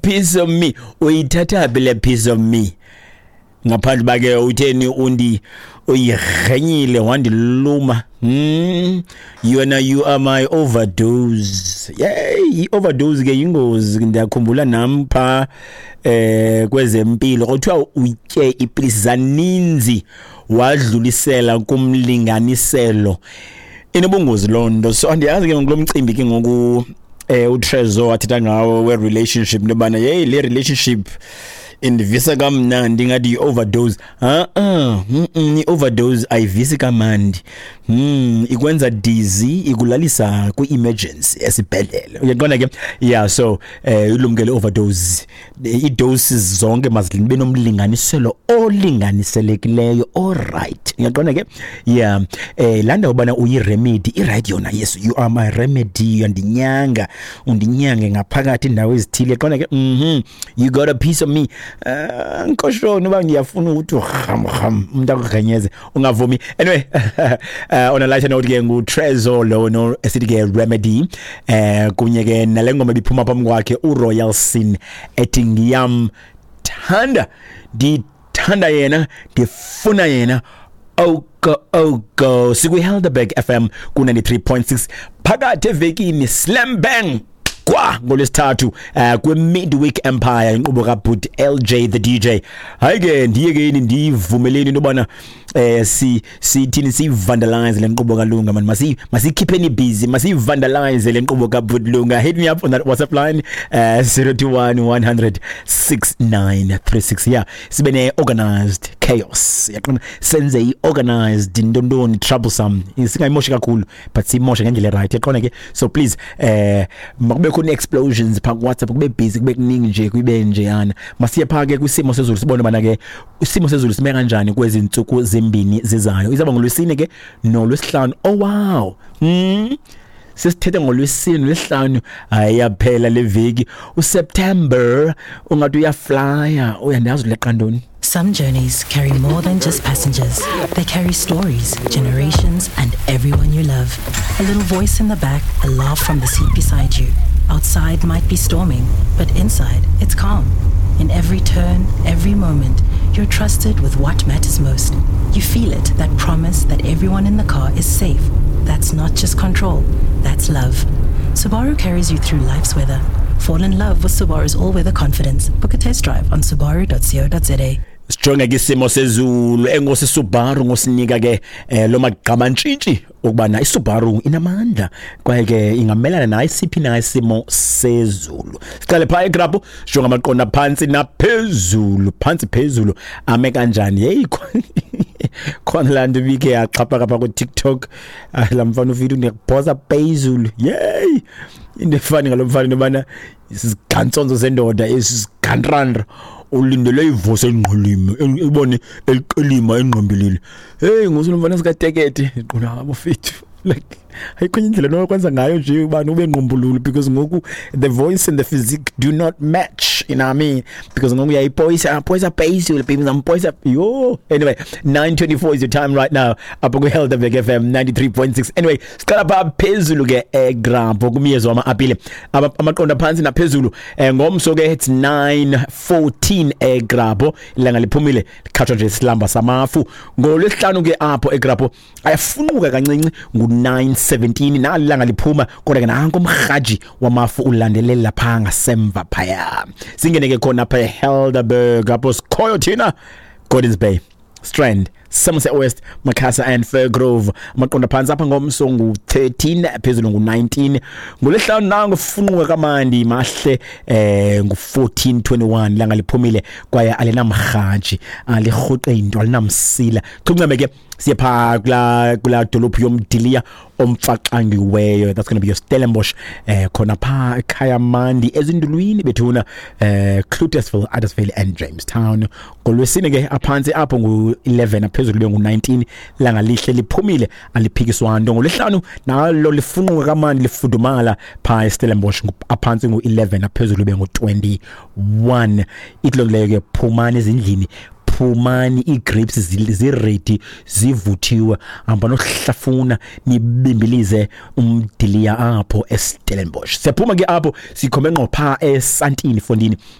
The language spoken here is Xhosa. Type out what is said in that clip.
Piece of me, uyithatha phi le piece of me? Ngaphandle uba ke utheni undi uyirhenyile wandiluma. Yona, you are my overdose. Yey, i-overdose ke yingozi. Ndiyakhumbula nam pha kwezempilo kuthiwa utye iipilisi zaninzi wadlulisela kumlinganiselo, inobungozi loo nto. So andiyazi ke ngoku lo mcimbi ke ngoku uTrezor athetha ngawo we-relationship, into yobana yeyi, le relationship indivisa kamnandi ngathi yi-overdose. Ha-a, i-overdose ayivisi kamandi. Ikwenza dizzy, ikulalisa kwi-emergency esibhedlele, uyaqonda ke? Yeah, so ilumkele overdose. Ii-doses zonke mazibe nomlinganiselo olinganiselekileyo alright, uyaqonda ke? Yeah, laa ndawo ubana uyi-remedy i-right yona. Yes, you are my remedy, uyandinyanga, undinyange ngaphakathi indawo ezithile, qonda ke? You got a piece of me. Nkoshoni uba ngiyafuna ukuthi ram ram umuntu akugrenyeze, ungavumi. Anyway, on a lighter note ke, nguTrezor lo no esithi ke Remedy, kunye ke nale ngoma ibiphuma phambi kwakhe, uRoyal Sin, ethi ngiyamthanda, ndithanda yena, ndifuna yena oko oko. Sikwi-Helderberg FM ku-93.6 phakathi evekini, slam bang kwa ngolwesithathu, kwi-Midweek Empire, inkqubo kaBhut LJ the DJ. Hayi ke, ndiye ke yini ndiyivumeleni into yobana si sithini siyi-vandalize le nkqubo kaLunga man. Masiyikhipheni busy, masiyi-vandalize le nkqubo kaBhut Lunga. Hit me up on that WhatsApp line, 021 100 6936. Yeah, sibe ne-organized chaos, yaqona, senze i-organized ntontoni troublesome. Singayimoshi kakhulu, but siyimoshe ngendlela right, yaqona ke? So please, makube khona explosions pha ku WhatsApp, kube busy, kube kuningi nje, kube njeyana. Masiye pha ke kwisimo sezulu, sibone bana ke isimo sezulu sime kanjani kwezi ntsuku zimbini zizayo. Izaba ngolwesine ke nolwesihlanu. Oh wow, sesithethe ngolwesine nolwesihlanu. Hayi, yaphela le veki, uSeptember ungathi uyaflya, uyandazi uleqa ntoni. Some journeys carry more than just passengers. They carry stories, generations, and everyone you love. A little voice in the back, a laugh from the seat beside you. Outside might be storming, but inside it's calm. In every turn, every moment, you're trusted with what matters most. You feel it, that promise that everyone in the car is safe. That's not just control, that's love. Subaru carries you through life's weather. Fall in love with Subaru's all-weather confidence. Book a test drive on subaru.co.za. Sijonge ke isimo sezulu. Enkosi Subaru ngosinika ke lo magqamantshintshi ukubana iSubaru inamandla kwaye ke ingamelana nayo siphi na isimo sezulu. Siqale phaa eGrabho, sijonge amaqonda phantsi naphezulu, phantsi phezulu ame kanjani. Heyi, khona laa nto ibikhe yaxhaphaka phaa kuTikTok. Ah, laa mfana ufike ndiyakuphosa phezulu. Yeyi, into efani ngalo mfana into yobana sizigantsonzo sendoda esizigantrandra, ulindele ivosi engqilima, ibone eliqilima engqimbilili. Hey, ngosulo mfana sikatekete qona abafethu, like ayikho indlela nokwenza ngayo nje ubani ube ngqumbululu, because ngoku the voice and the physique do not match, you know what I mean? Because ngoku uyayipoyisa, poyisa phezulu, baby, ngizampoyisa yo. Anyway, 9:24 is your time right now apha kwi-Helderberg FM 93.6. Anyway, siqala pha phezulu ke eGrabho, kumyezo wama-apile. Amaqonda phantsi naphezulu, ngomso ke it's 9:14 eGrabho, ilanga liphumile, likhatshwa nje isilamba samafu. Ngolwesihlanu ke apho eGrabho ayafunquka kancinci, ngu-9:17, nali ilanga liphuma, kodwa ke nanko umrhaji wamafu ulandelela phaa ngasemva phaya. Singene ke khona apha eHelderberg, apho sikhoyo thina, Gordons Bay, Strand, Somerset West, Macassar and Firgrove. Amaqonda phantsi apha ngomso ngu-13, phezulu ngu-19. Ngolwesihlanu nango funquka kamandi mahle, ngu-14:21, ilanga liphumile kwaye alinamrhaji, alirhuqe into, alinamsila. Chuncame ke siye phaa kulaa dolophu yomdiliya omfaxangiweyo. That's gonna be your Stellenbosch, khona phaa ekhaya mandi ezindulwini bethuna, Cloetesville, Addersville and Jamestown. Ngolwesine ke aphantsi apho ngu-11, aphezulu kube ngu-19, langa lihle liphumile, aliphikiswa nto. Ngolwesihlanu nalo lifunquka kamandi, lifudumala phaa eStellenbosch, aphantsi ngu-11, aphezulu kube ngu-21. Ithi loo nto leyo ke, phumani ezindlini. Phumani, ii-grapes ziready, zivuthiwe, hamba nohlafuna nibimbilize umdiliya apho eStellenbosch. Siyaphuma ke apho, sikhombe ngqo phaa eSantini, fondini.